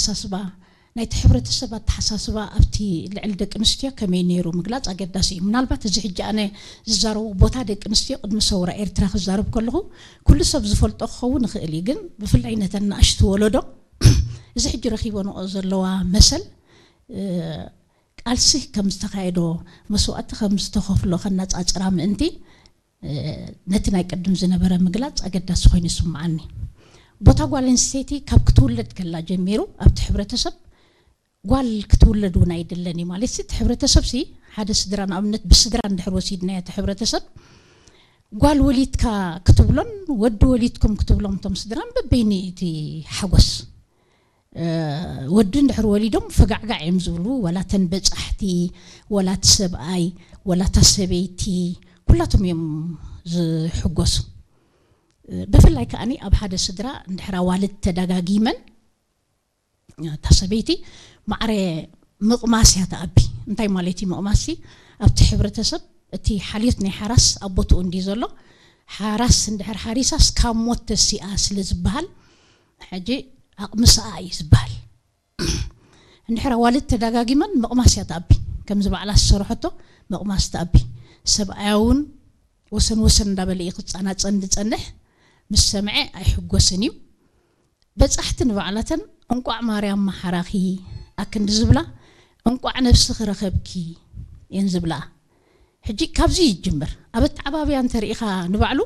ኣተሓሳስባ ናይቲ ሕብረተሰብ ኣተሓሳስባ ኣብቲ ልዕሊ ደቂ ኣንስትዮ ከመይ ነይሩ ምግላፅ ኣገዳሲ እዩ። ምናልባት እዚ ሕጂ ኣነ ዝዛረቦ ቦታ ደቂ ኣንስትዮ ቅድሚ ሰውራ ኤርትራ ክዛረብ ከለኹ ኩሉ ሰብ ዝፈልጦ ክኸውን ይኽእል እዩ፣ ግን ብፍላይ ነተን ንኣሽቱ ወለዶ እዚ ሕጂ ረኺበንኦ ዘለዋ መሰል ቃልሲ ከም ዝተኻየዶ፣ መስዋእቲ ከም ዝተኸፍሎ ከነፃፅራ ምእንቲ ነቲ ናይ ቅድም ዝነበረ ምግላፅ ኣገዳሲ ኮይኑ ይስምዓኒ። ቦታ ጓል ኣንስተይቲ ካብ ክትውለድ ከላ ጀሚሩ ኣብቲ ሕብረተሰብ ጓል ክትውለድ እውን ኣይድለን እዩ ማለት እቲ ሕብረተሰብ ሲ ሓደ ስድራ ንኣብነት ብስድራ እንድሕር ወሲድናዮ እቲ ሕብረተሰብ ጓል ወሊድካ ክትብሎን ወዲ ወሊድኩም ክትብሎም እቶም ስድራን በበይኒ እቲ ሓጎስ ወዲ እንድሕር ወሊዶም ፈጋዕጋዕ እዮም ዝብሉ፣ ወላ ተን በፃሕቲ፣ ወላ እቲ ሰብኣይ፣ ወላ እታ ሰበይቲ፣ ኩላቶም እዮም ዝሕጎሱ። ብፍላይ ከዓኒ ኣብ ሓደ ስድራ እንድሕር ኣዋልድ ተደጋጊመን እታ ሰበይቲ ማዕረ ምቕማስ እያ ተኣቢ። እንታይ ማለት እዩ ምቕማስ? ኣብቲ ሕብረተሰብ እቲ ሓልዮት ናይ ሓራስ ኣብ ቦትኡ እንዲ ዘሎ ሓራስ እንድሕር ሓሪሳስ ካብ ሞት ተሲኣ ስለ ዝበሃል ሕጂ ኣቕምስኣ እዩ ዝበሃል። እንድሕር ኣዋልድ ተደጋጊመን ምቕማስ እያ ተኣቢ። ከምዚ ባዕላ ዝሰርሐቶ ምቕማስ ተኣቢ። ሰብኣያ እውን ወሰን ወሰን እንዳበለ እዩ ክፀናፀን ዝፀንሕ። ምስ ሰምዐ ኣይሕጎስን እዩ። በፃሕቲ ንባዕላተን እንቋዕ ማርያም መሓራኺ ኣክንዲ ዝብላ እንቋዕ ነብስኺ ረኸብኪ እየን ዝብላ። ሕጂ ካብዚ ይጅምር። ኣብ ኣተዓባብያ እንተርኢኻ ንባዕሉ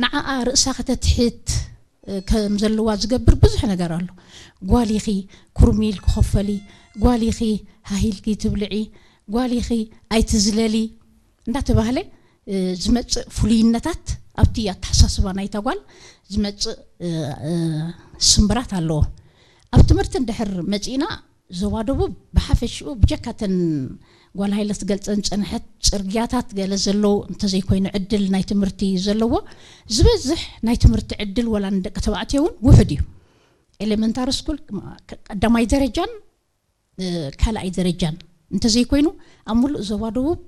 ንዓኣ ርእሳ ከተትሕት ከም ዘለዋ ዝገብር ብዙሕ ነገር ኣሎ። ጓል ኢኺ ኩርሚል ክኸፈሊ፣ ጓል ኢኺ ሃሂልኪ ትብልዒ፣ ጓል ኢኺ ኣይትዝለሊ እንዳተባህለ ዝመፅእ ፍሉይነታት ኣብቲ ኣተሓሳስባ ናይታ ጓል ዝመፅእ ስምብራት ኣለዎ። ኣብ ትምህርቲ እንድሕር መፂእና ዞባ ደቡብ ብሓፈሽኡ ብጀካ ተን ጓል ሃይለ ትገልፀን ዝፀንሐት ፅርግያታት ገለ ዘለዎ እንተዘይኮይኑ ዕድል ናይ ትምህርቲ ዘለዎ ዝበዝሕ ናይ ትምህርቲ ዕድል ወላ ንደቂ ተባዕትዮ እውን ውሑድ እዩ። ኤሌመንታሪ ስኩል ቀዳማይ ደረጃን ካልኣይ ደረጃን እንተዘይኮይኑ ኣብ ሙሉእ ዞባ ደቡብ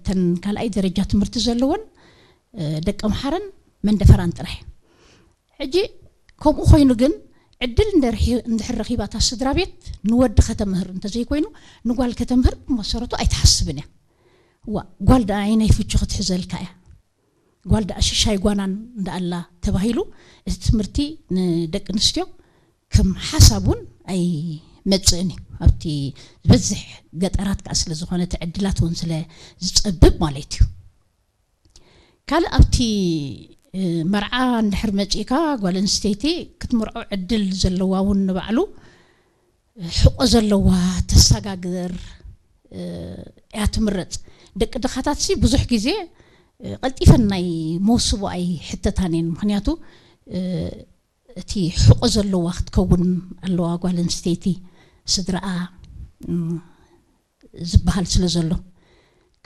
ተን ካልኣይ ደረጃ ትምህርቲ ዘለወን ደቂ ኣምሓራን መንደፈራን ጥራሕ። ሕጂ ከምኡ ኮይኑ ግን ዕድል እንድሕር ረኺባ እታ ስድራ ቤት ንወዲ ከተምህር እንተዘይኮይኑ ንጓል ከተምህር ብመሰረቱ ኣይትሓስብን እያ። ዋ ጓል ደኣ ኣየናይ ፍቹ ክትሕዘልካ እያ? ጓል ደኣ ሽሻይ ጓናን እንዳኣላ ተባሂሉ እቲ ትምህርቲ ንደቂ ኣንስትዮ ከም ሓሳብ እውን ኣይመፅእን እዩ። ኣብቲ ዝበዝሕ ገጠራት ከዓ ስለ ዝኾነ እቲ ዕድላት እውን ስለ ዝፀብብ ማለት እዩ። ካልእ ኣብቲ መርዓ እንድሕር መፂእካ ጓል ኣንስተይቲ ክትምርዖ ዕድል ዘለዋ እውን ንባዕሉ ሕቆ ዘለዋ ተሰጋግር እያ ትምረፅ። ደቂ ድኻታት ሲ ብዙሕ ግዜ ቀልጢፈን ናይ መውስቦ ኣይሕተታን እየን። ምክንያቱ እቲ ሕቆ ዘለዋ ክትከውን ኣለዋ ጓል ኣንስተይቲ ስድራኣ ዝበሃል ስለ ዘሎ።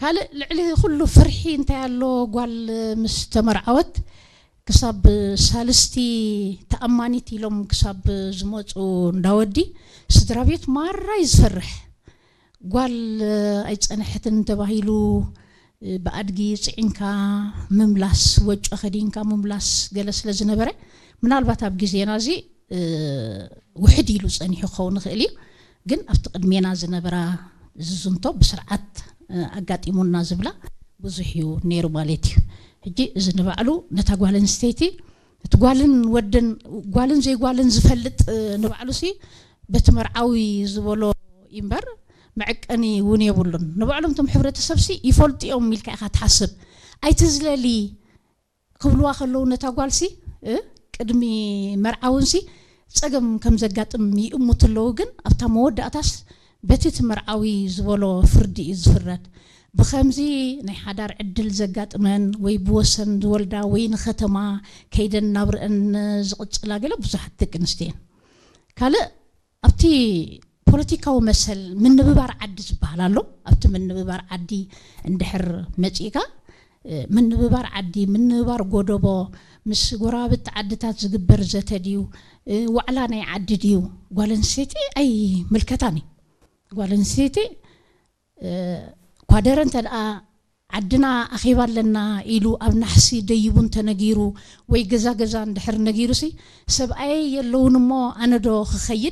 ካልእ ልዕሊ ኩሉ ፍርሒ እንታይ ኣሎ? ጓል ምስ ተመርዓወት ክሳብ ሳልስቲ ተኣማኒት ኢሎም ክሳብ ዝመፁ እንዳወዲ ስድራ ቤት ማራ እዩ ዝፈርሕ። ጓል ኣይፀነሐትን ተባሂሉ ብኣድጊ ፅዒንካ ምምላስ፣ ወጮ ከዲንካ ምምላስ ገለ ስለ ዝነበረ ምናልባት ኣብ ግዜና እዚ ውሕድ ኢሉ ፀኒሑ ክኸውን ይኽእል እዩ። ግን ኣብቲ ቅድሜና ዝነበራ ዝዝንቶ ብስርዓት ኣጋጢሙና ዝብላ ብዙሕ እዩ ነይሩ ማለት እዩ። ሕጂ እዚ ንባዕሉ ነታ ጓል ኣንስተይቲ እቲ ጓልን ወድን ጓልን ዘይጓልን ዝፈልጥ ንባዕሉ ሲ በቲ መርዓዊ ዝበሎ እምበር መዐቀኒ እውን የብሉን። ንባዕሎም እቶም ሕብረተሰብ ሲ ይፈልጡ እዮም ኢልካ ኢኻ ትሓስብ። ኣይትዝለሊ ክብልዋ ከለዉ ነታ ጓልሲ ቅድሚ መርዓውንሲ ጸገም ከም ዘጋጥም ይእምቱ ኣለዉ። ግን ኣብታ መወዳእታስ በቲ እቲ መርዓዊ ዝበሎ ፍርዲ እዩ ዝፍረድ። ብኸምዚ ናይ ሓዳር ዕድል ዘጋጥመን ወይ ብወሰን ዝወልዳ ወይ ንኸተማ ከይደን ናብርአን ዝቕጽላ ገለ ብዙሓት ደቂ ኣንስትዮ እየን። ካልእ ኣብቲ ፖለቲካዊ መሰል ምንብባር ዓዲ ዝበሃል ኣሎ። ኣብቲ ምንብባር ዓዲ እንድሕር መጺእካ ምንብባር ዓዲ፣ ምንብባር ጎደቦ፣ ምስ ጎረባብቲ ዓድታት ዝግበር ዘተ ድዩ፣ ዋዕላ ናይ ዓዲ ድዩ፣ ጓል ኣንስተይቲ ኣይምልከታን እዩ። ጓል ኣንስተይቲ ኳደረ እንተ ደኣ ዓድና ኣኼባ ኣለና ኢሉ ኣብ ናሕሲ ደይቡ እንተነጊሩ ወይ ገዛ ገዛ እንድሕር ነጊሩሲ ሰብኣየይ የለውን እሞ ኣነ ዶ ክኸይድ